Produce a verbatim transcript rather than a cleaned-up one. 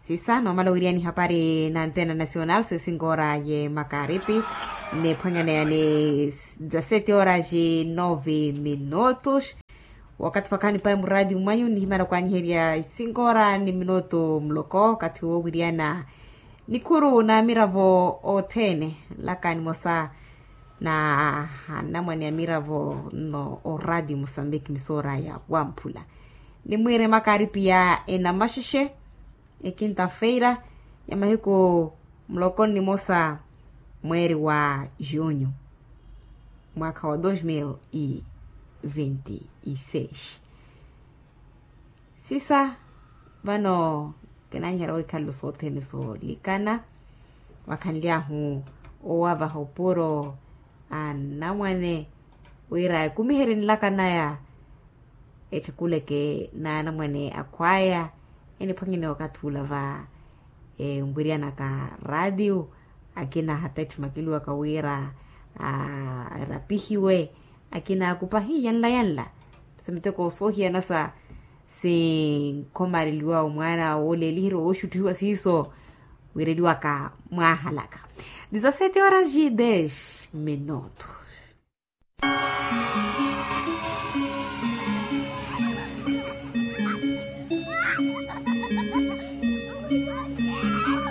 Sisa nomala owiriyani hapari na antena nacional so esinkoora ye makaripi, niphwanyaneya ni dezasete horas e nove minutos. Wakathi wakhani payi muraati mwanyu nihimana kwanyiherya isinkoora ni minutu muloko wakathi wowiriyana nikhuru na amiravo othene. Laka nimosa na anamwane amiravo no oraati musambiki misoora ya wamphula, nimwiire makaripi ya enamaxexe ekinta feira ya mahiku muloko nimosa mweeri wa junho mwakha wa dos mil e vinte e seis. Sisa vano kinanyiherya wikhalelo sothene solikana vakhanly'ahu owavaha opuro a namwane wira ekumiherye nlaka naya ettikuleke na namwane akhwaya eniphwanyene wakathi ula va enwiriyanaka raatiyo akina hata etthu makiluwaka wira erapihiwe akina akupa hi yanla yanla. Sa miteko soohiyana sa sinkhomareliwa omwaana wooleeliherya wooxuttihiwa siiso wireliwaka mwaahalaka. Dezasete horas e dez minutos.